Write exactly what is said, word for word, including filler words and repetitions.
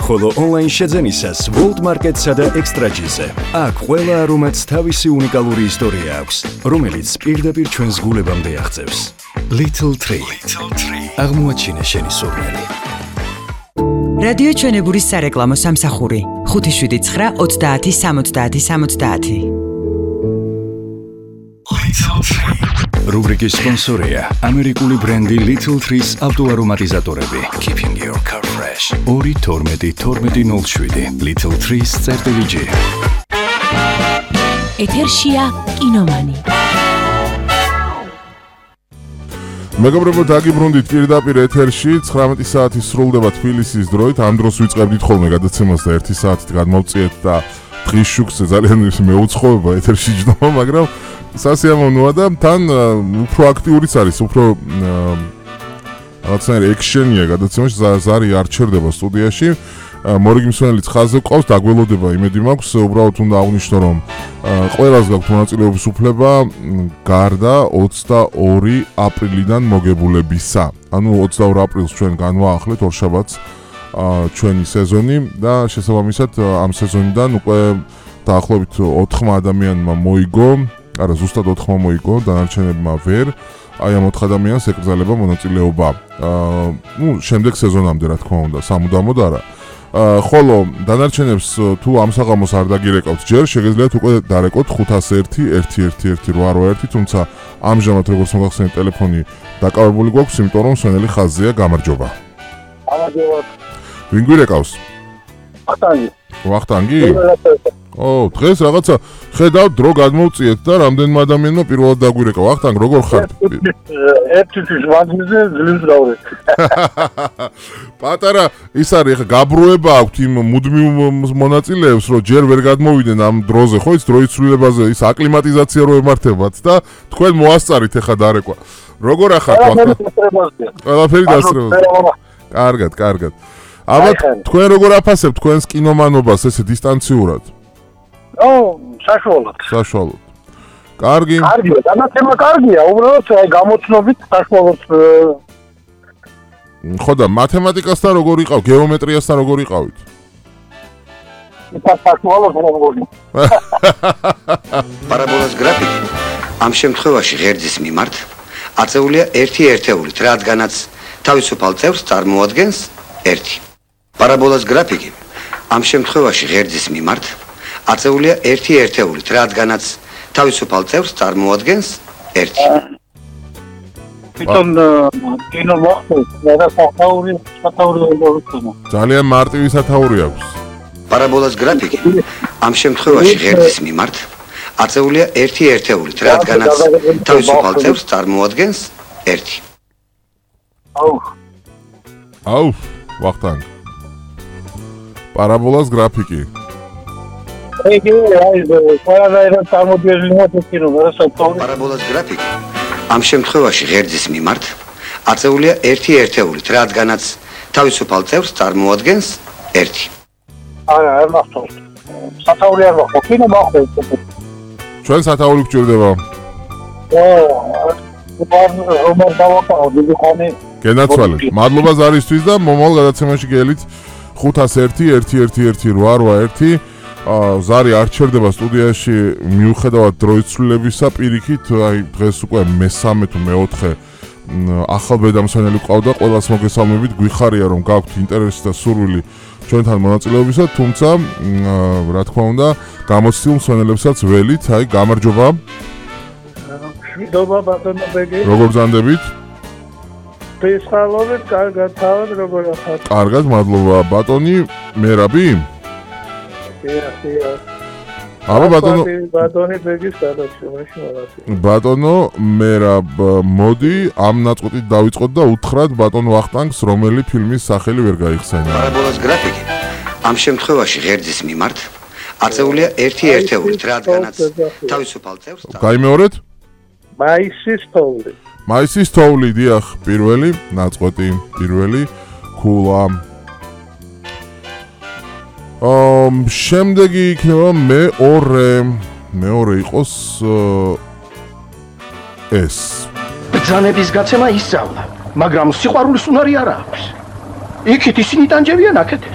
ხოლო ონლაინ შეძენისას World Market-სა და Extra-ში-ზე. აქ ყველა არომატს თავისი უნიკალური ისტორია აქვს, რომელიც პირდაპირ ჩვენს გულებამდე აღწევს. Little Tree. აღმოაჩინე შენი სურნელი. რადიო ჩვენებურის სარეკლამო სამსახური ხუთი შვიდი ცხრა ოცდაათი სამოცდაათი სამოცდაათი. რუბრიკის სპონსორია ამერიკული ბრენდი Little Trees ავტოარომატიზატორები. Keeping your car fresh. ორი თორმეტი თორმეტი ნულ შვიდი Little Trees წერტილი ჯი. ეთერშია კინომანი. მეგობრებო, დაგიბრუნდით პირდაპირ ეთერში. ცხრამეტი საათი სრულდება თბილისის დროით. ამ დროს ვიწყებდით ხოლმე გადაცემას და ერთი საათით გადმოვწიეთ და დღის შუქზე ძალიან მეუცხოვება ეთერში ჯდომა, მაგრამ სასიამოვნოა და თან უფრო აქტიურიც არის, უფრო რაღაცნაირი ექშენია გადაცემაში, ზარი არ ჩერდება სტუდიაში. მორიგი მსვენელიც ხაზზე ყავს, დაგველოდება იმედი მაქვს, უბრალოდ უნდა აღნიშნო, რომ ყველას გაქვთ მონაწილეობის უფლება გარდა ოცდაორი აპრილიდან მოგებულებისა. ანუ ოცდაორი აპრილს ჩვენ განვაახლეთ ორშაბათს ჩვენი სეზონი და შესაბამისად ამ სეზონიდან უკვე დაახლოებით ოთხმა ადამიანმა მოიგო, არა ზუსტად ოთხმა მოიგო, დანარჩენებმა ვერ. აი ამ ოთხ ადამიანს ეკრძალება მონაწილეობა. ნუ შემდეგ სეზონამდე რა თქმა უნდა, სამუდამოდ არა. ხოლო დანარჩენებს თუ ამ საღამოს არ დაგირეკავთ ჯერ, შეგიძლიათ უკვე დარეკოთ ხუთას ერთი ერთი ერთი ერთი რვა რვა ერთი, თუმცა ამჟამად როგორც მოგახსენეთ ტელეფონი დაკავებული გვაქვს, იმიტომ რომ სვენელი ხაზზეა. გამარჯობა. გამარჯობა. ვინ გვირეკავს? ვახტანგი. ვახტანგი? ო, დღეს რაღაცა ხედავ დრო გადმოვწიეთ და რამდენმა ადამიანმა პირველად დაგვირეკა. ვახტანგ, როგორ ხარ? ერთი თვის ვაგნზე ძლივს გავვრეთ. პატარა ის არის, ხა გაბრუება აქვთ იმ მუდმივ მონაწილეებს, რომ ჯერ ვერ გადმოვიდნენ ამ დროზე, ხო, ის დროის ცვლილებაზე, ის აკლიმატიზაცია რო ემართებათ და თქვენ მოასწარით ახლა დარეკვა. როგორ ახართ ვახტანგ? ყველაფერი დასწრებულია. კარგად, კარგად. ალბათ თქვენ როგორ აფასებთ თქვენს კინომანობას ესე დისტანციურად? ო, საშუალოდ. საშუალოდ. კარგი. კარგია, განათება კარგია, უბრალოდ აი გამოცნობით საშუალოდ. ხო და მათემატიკასთან როგორ იყავ, გეომეტრიასთან როგორ იყავით? საშუალოდ როგორ. პარაბოლას გრაფიკი ამ შემთხვევაში ღერძის მიმართ აწეულია ერთი ერთეულით, რადგანაც თავისუფალ წევრს წარმოადგენს ერთი. პარაბოლას გრაფიკი ამ შემთხვევაში ღერძის მიმართ აწეულია ერთი ერთეულით, რადგანაც თავისუფალ წევრს წარმოადგენს ერთი. თვითონ კინო მოხდეს, და სათაური, სათაური როგორია? ძალიან მარტივი სათაური აქვს. პარაბოლას გრაფიკი ამ შემთხვევაში ღერძის მიმართ აწეულია ერთი ერთეულით, რადგანაც თავისუფალ წევრს წარმოადგენს ერთი. აუ. აუ, ვახტანგ. პარაბოლას გრაფიკი. იგი აი ყველანაირად წარმოდიებულია კინო, რასაკვირველია. პარაბოლას გრაფიკი ამ შემთხვევაში ღერძის მიმართ აწეულია ერთი ერთეულით, რადგანაც თავისუფალ წევრს წარმოადგენს ერთი. არა, არ მახსოვს. სათაური არ მახსოვს, კინო მახსოვს. ჩვენ სათაური გვჭირდება. ო, რომარ დავაკავ, დიდი ხანი. გენაცვალე. მადლობა ზარისთვის და მომავალ გადაცემაში გელით ხუთას ერთი ერთი ერთი ერთი რვა რვა ერთი. ზარი არ ჩერდება სტუდიაში მიუხედავად დროის ცვლილებისა, პირიქით აი დღეს უკვე მესამე თუ მეოთხე ახალ ბედამსვენელი ყავდა, ყველას მოგესალმებით, გვიხარია რომ გაქვთ ინტერესი და სურვილი ჩვენთან მონაწილეობისა, თუმცა რა თქმა უნდა გამოცდილ მსვენელებსაც ველით, აი გამარჯობა. მშვიდობა ბატონო ბეგი. როგორ ბრძანდებით? ფესხალობით, კარგად თავად როგორ ახართ? კარგად, მადლობა. ბატონი მერაბი? აბა ბატონო ბატონი ბეგის გადაცემაში მოვაწვი. ბატონო მერაბ, მოდი ამ ნაწყვეტით დავიწყოთ და უთხრათ ბატონ ვახტანგს რომელი ფილმის სახელი ვერ გაიხსენა. პარაბოლას გრაფიკი ამ შემთხვევაში ღერძის მიმართ აწეულია ერთი ერთეულით, რადგანაც თავისუფალ წევრს. გაიმეორეთ? მაისის თოვლი. მაისის თოვლი, დიახ, პირველი ნაწყვეტი, პირველი ქულა. ამ შემდეგი იქნება მეორე. მეორე იყოს ეს. ბრძანების გაცემა ისწავლა, მაგრამ სიყვარულის უნარი არ აქვს. იქით ისინი ტანჯებიან, აქეთ